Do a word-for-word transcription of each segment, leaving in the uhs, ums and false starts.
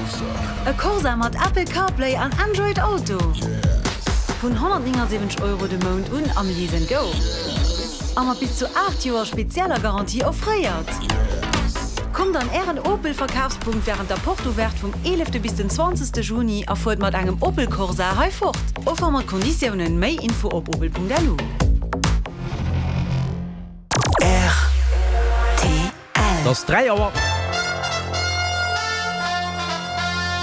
E Corsa mat Apple CarPlay an Android Auto? Vun honnertnéngasiwwenzeg Euro de Mount un am Lease and Go. A mat bis zu aacht Joer spezieller Garantie offréiert. Kommt an Ären Opel Verkafspunkt wärend der Porte Ouverte vum eelefte bis den zwanzegste Juni a fuert mat engem Opel Corsa hei fort. Offer mat Konditiounen. Méi Info op opel.lu. Et ass dräi Auer.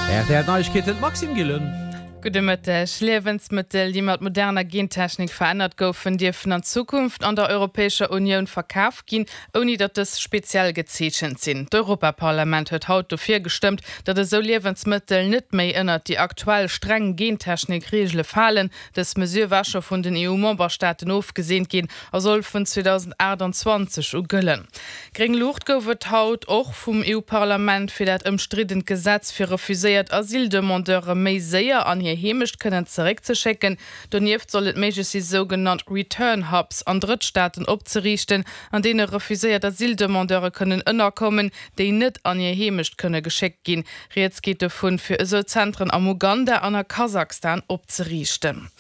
R T L Neiegkeeten, d'Maxime Gillen. Gudde Mëtteg. Liewensmëttel, déi mat moderner Gentechnik verännert goufen, dierfen an Zukunft an der Europäescher Unioun verkaf ginn, ouni datt dës speziell gezeechent sinn. D'Europaparlament huet haut dofir gestëmmt, datt esou Liewensmëttel net méi ënnert déi aktuell streng Gentechnik-Reegele falen. Dës Mesure war scho vun den E U-Memberstaaten ofgeseent ginn a soll vun zweedausendaachtanzwanzeg u gëllen. Gréng Luucht gouf et haut och vum E U-Parlament fir dat ëmstriddent Gesetz, fir refuséiert Asyldemandeure méi séier an hir Heemecht kënnen zeréckzeschécken. Donieft soll et méiglech si sougenannt Return Hubs an Drëttstaaten opzeriichten, an deene refuséiert Asyldemandeure kënnen ënnerkommen, déi net an hir Heemecht kënne geschéckt ginn. Rieds geet dovun, fir esou Zentren am Uganda an a Kasachstan opzeriichten.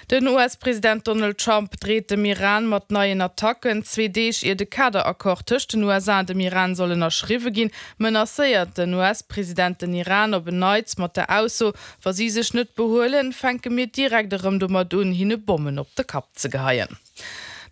Den U S-President Donald Trump dreet dem Iran mat neien Attacken. Zwee Deeg ier de Kaderaccord tëscht den U S A an dem Iran soll ënnerschriwwe ginn, menacéiert den U S-President den Iran op en Neits mat der Ausso, wa si sech net behuelen, fänke mir direkt erëm domat un, hinne Bommen op de Kapp ze geheien.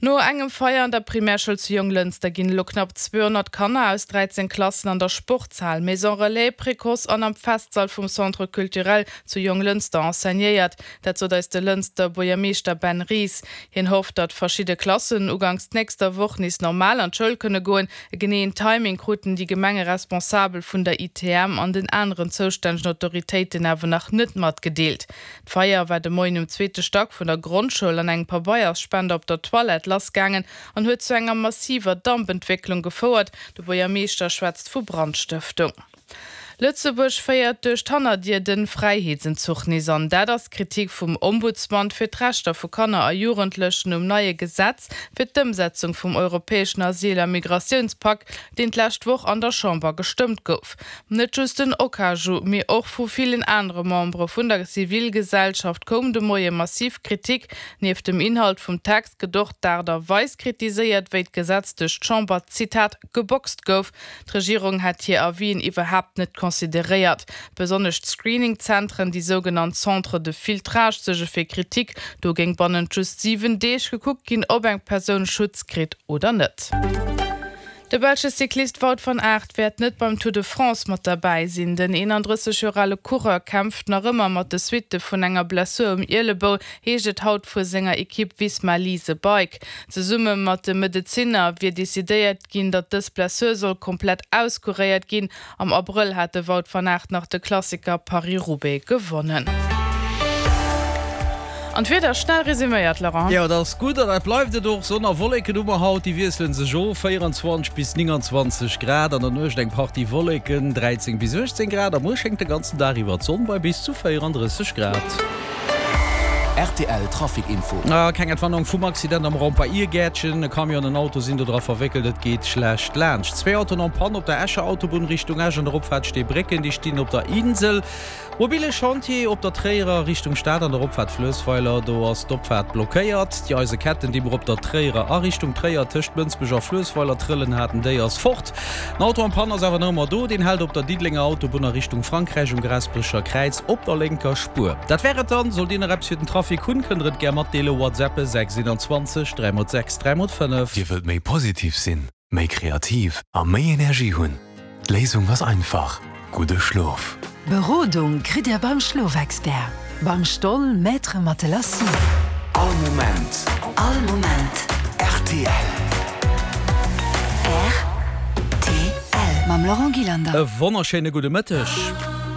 No engem Feier an der Primärschoul zu Jonglënster ginn elo knapp zweehonnert Kanner aus dräizéng Klassen an der Sportshal, Maison Relais, Précoce an am Festsall vum Centre Culturel zu Jonglënster enseignéiert. Dat sot eis de Lënster Buergermeeschter Ben Ries. Hien hofft, datt verschidde Klassen uganks nächster Woch nees normal an d'Schoul kënne goen. E geneeën Timing kruten déi Gemengeresponsabel vun der I T M an den aneren zoustännegen Autoritéiten awer nach net matgedeelt. D'Feier war de Moien um zweete Stack vun der Grondschoul an engem Pabeiersspender op der Toilette lassgaangen an huet zu enger massiver Dampentwécklung gefouert. De Buergermeeschter schwätzt vu Brandstëftung. Lëtzebuerg féiert duerch d'Hannerdier de Fräiheetsentzuch nees an. Dat ass d'Kritik vum Ombudsman fir d'Rechter vu Kanner a Jugendlechen um neie Gesetz fir d'Ëmsetzung vum europäeschen Asyl- a Migratiounspak, deen d'lescht Woch an der Chamber gestëmmt gouf. Net just den OKAJU, mee och vu villen anere Membere vun der Zivilgesellschaft koum de Moie massiv Kritik. Nieft dem Inhalt vum Text gëtt och d'Aart a Weis kritiséiert, wéi d'Gesetz duerch d'Chamber, Zitat, geboxt gouf. D'Regierung hätt hir Avisen iwwerhaapt net consideréiert. Besonnesch Screening-Zentren, déi sougenannt Centres de filtrage, suerge fir Kritik. Do géing bannent just siwen Deeg gekuckt ginn, ob eng Persoun Schutz kritt oder net. De belsche Cyclist Wout van Aert wäert net beim Tour de France mat derbäi sinn. Den eenandrësseg Joer ale Coureur kämpft nach ëmmer mat de Suitte vun enger Blessur um Ielebou, heescht et haut vu senger Ekipp Visma Lease a Bike. Zesumme mat de Medezinner wier decidéiert ginn, datt dës Blessur soll komplett auskuréiert ginn. Am Abrëll hat de Wout van Aert nach de Klassiker Paris-Roubaix gewonnen. An d'Wieder schnell resuméiert, Laurent. Jo, dat ass gutt an dat bleift et och. Sonn a Wolleken hu mer haut, déi wiessele sech of, véierenzwanzeg bis nénganzwanzeg Grad, an der Nuecht eng Partie Wolleken, dräizéng bis uechtzéng Grad, a muer schéngt de ganzen Dag iwwer d'Sonn bei bis zu véierandrësseg Grad. R T L Trafic Info. Keng Entwarnung vum Accident am Raum bei Irgäertchen. E Camion an en Auto sinn do dra verwéckelt, et geet schlecht laanscht. Zwee Autoen en panne op der Escher Autobunn Richtung Esch an der Opfaart Steebrécken, déi stinn op der Insel. Mobile Chantier op der Tréierer Richtung Stad an der Opfaart Fluessweiler, do ass d'Opfaart blockéiert. Déi Eiseketten, déi mer op der Tréierer a Richtung Tréier tëscht Mënsbech a Fluessweiler trëllen haten, déi ass fort. Den Auto en panne ass awer nach ëmmer do, deen hält op der Diddelenger Autobunn a Richtung Frankräich um Gaasperecher Kräiz op der lénker Spuer. Dat wär et dann. Sollt Dir nach eppes fir den Trafic hunn, kënnt der et gär matdeelen, WhatsAppe sechs einundzwanzeg dräi mol sechs dräi mol fënnef. Dir wëllt méi positiv sinn, méi kreativ a méi Energie hunn? D'Léisung ass einfach, gudde Schlof. Berodung kritt Dir beim Schlofexpert, beim Stoll Maître Matelassi. All Moment. All Moment. R T L. R T L. Mam Laurent Gillander. E wonnerschéine gudde Mëtteg.